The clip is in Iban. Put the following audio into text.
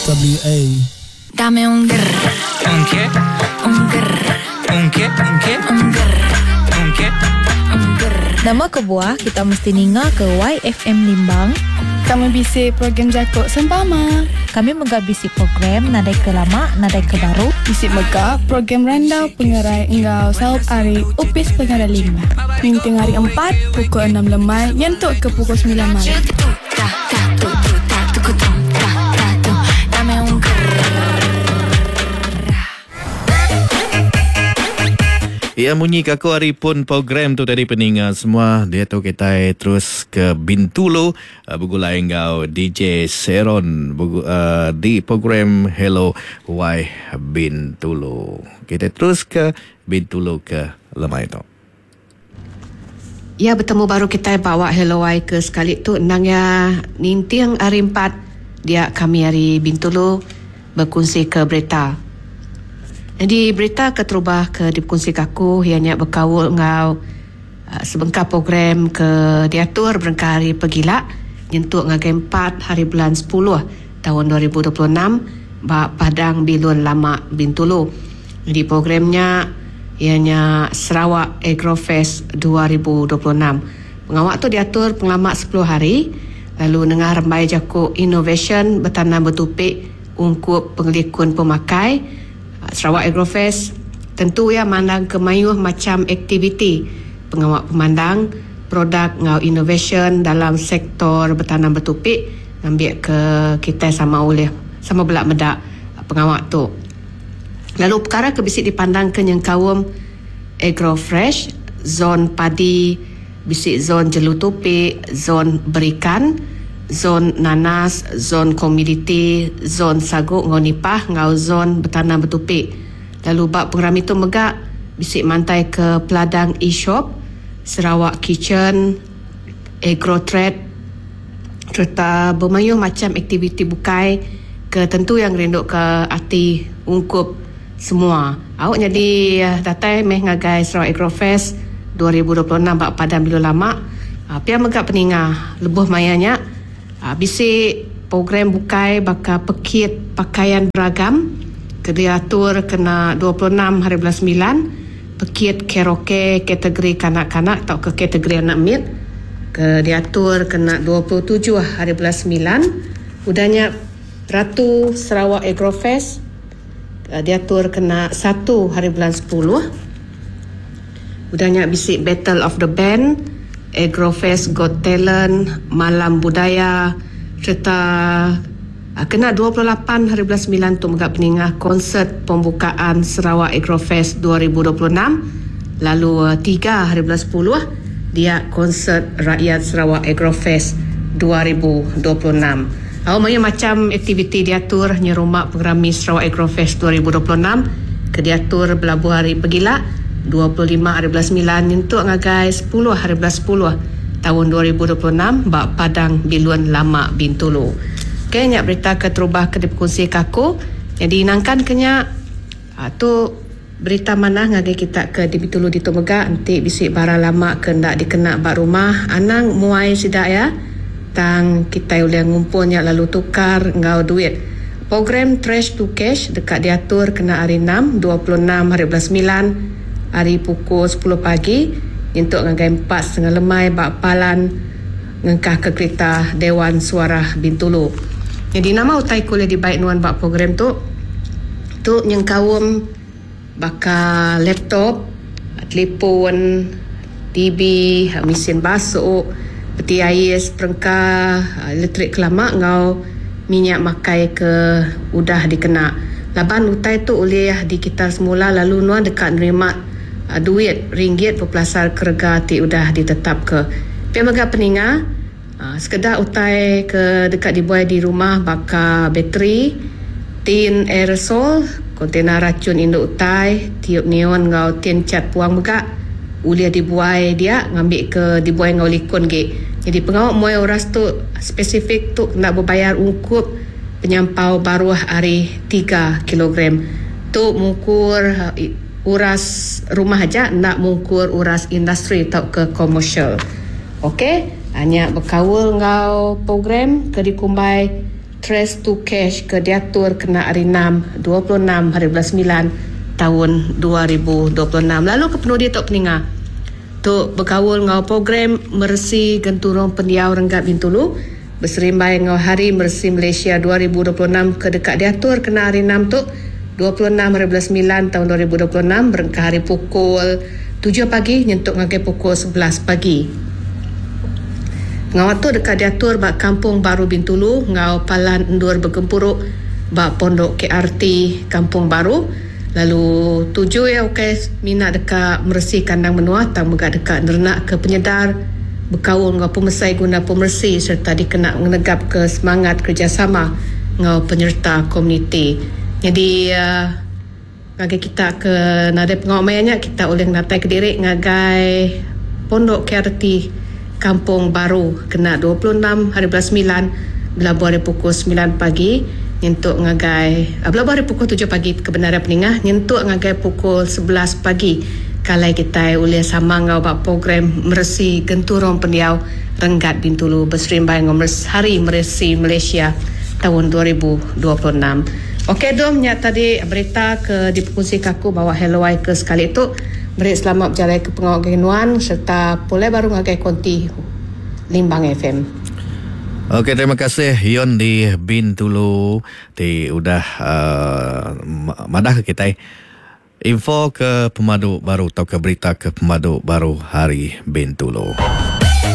WA. Dame un grr. Un qué? Un grr. Un qué? Un qué? Un grr. Un qué? Un grr. Nama kebuah kita mesti ninga ke YFM Limbang? Kami bisi program jaku sempama. Kami mega bisi program nadai ke lama nadai ke baru. Bisi mega program randau pengerai enggau saup ari Opis Pengerai Limbang. Ninting hari Empat pukul enam lemai nyentuk ke pukul semilan malam. Iya munyi ke aku ari pun program tu tadi peninga semua diatu kitai terus ke Bintulu eh, begulai enggau DJ Seron eh, di program Hello Wai Bintulu. Kitai terus ke Bintulu ke lemai tu. Iya betemu baru kitai ba awak Hello Wai ke sekali tu endang iya ninting hari empat dia kami ari Bintulu bekunsika berita. Nyadi berita keterubah ke dipekunsika aku iya nya bekaul enggau sebengkah program ke diatur berengkah hari pegila nyentuk ngagai empat hari bulan sepuluh taun 2026 ba Padang Bilun Lama Bintulu. Nyadi program nya iya nya Sarawak Agrofest 2026. Pengawa tu diatur pengelama sepuluh hari lalu nengah rembai jaku inovasyen betanam betupi ungkup pengelikun pemakai, Sarawak Agrofest tentu iya mandangka mayuh macham aktiviti pengawa pemandang produk enggau inovasyen dalam sektor betanam betupi ngambika kitai sama ulih sama bela meda pengawa tu. Lalu pekara ke bisi dipandangka nyengkaum Agrofresh, zon padi, bisi zon jelu tupi, zon berikan, zon nanas, zon komiditi, zon sagu enggau nipah enggau zon betanam betupi. Lalu ba pengerami tu mega bisi mantaika Peladang E-Shop, Sarawak Kitchen, Agrotrade sereta bemayuh macham aktiviti bukai ke tentu iya ngerinduka ati ungkup semua. Au nyadi datai meh ngagai Sarawak Agrofest 2026 ba Padang Bilu Lama. Pia mega peninga lebuh maya nya bisi program bukai baka pekit pakaian beragam ke diatur kena 26 hari bulan semilan. Pekit karaoke kategori kanak-kanak tauka kategori anak mit ke diatur kena 27 hari bulan semilan. Udah nya Ratu Sarawak Agrofest diatur kena satu hari bulan sepuluh. Udah nya bisi Battle of the Band, Agrofest Got Talent, Malam Budaya sereta Kena 28 hari bulan semilan tu mega peningah konsert pembukaan Sarawak Agrofest 2026 lalu tiga hari bulan sepuluh dia konsert Rakyat Sarawak Agrofest 2026. Au mayuh macham aktiviti diatur nyerumba pengerami Sarawak Agrofest 2026 ke diatur belabuh hari pegila 25 hari bulan semilan nyentuk ngagai sepuluh hari bulan sepuluh taun 2026 ba Padang Bilun Lama Bintulu. Okey nya berita ke terubah ke dipekunsika aku. Nyadi nangkan ke nya tu berita manah ngagai kita ke di Bintulu ditu mega enti bisi barang lama ke enda dikena ba rumah anang muai sida iya tang kitai ulih ngumpul nya lalu tukar enggau duit. Program Trash to Cash deka diatur kena hari enam, 26 hari bulan semilan ari pukul sepuluh pagi nyentuk ngagai empat setengah lemai ba palan ngengkahka kerita Dewan Suarah Bintulu. Nyadi nama utai ke ulih dibai nuan ba program tu? Tu nyengkaum baka laptop, telefon, TV, mesin basu, peti ais, perengka elektrik ke lama enggau minyak makai ke udah dikena. Laban utai tu ulih dikitar semula lalu nuan deka nerima duit ringgit bepelasar ke rega ti udah ditetapka. Pia mega peninga, sekeda utai ke deka dibuai di rumah baka bateri, tin aerosol, kontena rachun indu utai, tiub neon enggau tin cat puang mega ulih dibuai dia ngambika dibuai enggau likun agi. Nyadi pengawa muai uras tu spesifik tu kena bebayar ungkup penyampau baruh ari tiga kilogram. Tu mungkur. Uras rumah aja enda mungkur uras industri tauka komersial. Ok, nya bekaul enggau program ke dikumbai. Trace to Cash ke diatur kena Hari Enam, 26 hari bulan semilan taun 2026. Lalu ke penudi tu peninga tu bekaul enggau program meresi genturung pendiau renggat Bintulu beserimbai enggau Hari Meresi Malaysia 2026 ke deka diatur kena Hari Enam tu, 26 hari bulan semilan taun 2026 berengkah ari pukul tujuh pagi nyentuk ngagai pukul 11 pagi. Pengawa tu deka diatur ba Kampung Baru Bintulu enggau palan endur begempuru ba Pondok KRT Kampung Baru lalu tuju iya ukai semina deka meresi kandang menua tang mega deka nerenakka penyedar bekaul enggau pemesai guna pemeresi sereta dikena ngenegapka semangat kerejasama enggau penyereta komuniti. Nyadi ngagai kita ke nadai pengawa maya nya kita ulih ngenataika diri ngagai Pondok KRT Kampung Baru kena 26 hari bulan semilan belabuh ari pukul semilan pagi nyentuk ngagai belabuh ari pukul tujuh pagi ke bendar peningah nyentuk ngagai pukul 11 pagi ke alai kitai ulih sama enggau ba program meresi genturung pendiau renggat Bintulu beserimbai enggau Hari Meresi Malaysia taun 2026. Ok dom nya tadi berita ke dipekunsika aku bawa Hello Ai ke sekali tu. Meri selamat bejalai ke pengawa ngagai nuan sereta pulai baru ngagai konti Limbang FM. Ok terima kasih Yon di Bintulu ti udah uh, madah ke kitai info ke pemadu baru tauka berita ke pemadu baru hari Bintulu.